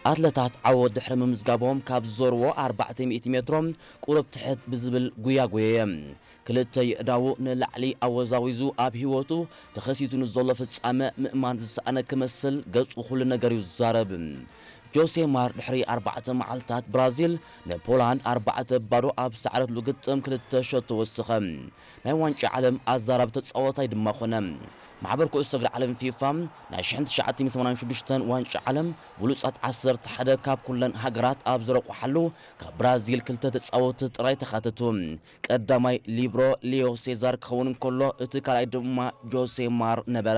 ኣትለታት ዓወት ድሕሪ ምምዝጋቦም ካብ ዝዞርዎ ኣርባዕተ ሚእቲ ሜትሮ ቁሩብ ትሕት ብዝብል ጉያ ጎየየ። ክልተ የእዳዉ ንላዕሊ ኣወዛዊዙ ኣብ ህይወቱ ተኸሲቱ ንዘሎ ፍጻመ ምእማን ዝሰኣነ ክመስል ገጹ ኩሉ ነገር እዩ ዝዛረብ። ጆሴ ማር ድሕሪ ኣርባዕተ መዓልታት ብራዚል ንፖላንድ ኣርባዕተ ባዶ ኣብ ዝሰዓረትሉ ግጥም ክልተ ሸቶ ወሰኸ። ናይ ዋንጫ ዓለም ኣዛራቢ ተጻዋታይ ድማ ኾነ። ማሕበር ኩዕሶ እግሪ ዓለም ፊፋ ናይ ሽሕን ትሽዓተ ሚእትን ሰማንያን ሽዱሽተን ዋንጫ ዓለም ብሉጻት ዓሰርተ ሓደ ካብ ኩለን ሃገራት ኣብ ዝረቑሓሉ ካብ ብራዚል ክልተ ተጻወትቲ ጥራይ ተኻተቱ። ቀዳማይ ሊብሮ ሊዮ ሴዛር ክኸውን እንከሎ እቲ ካልኣይ ድማ ጆሴ ማር ነበረ።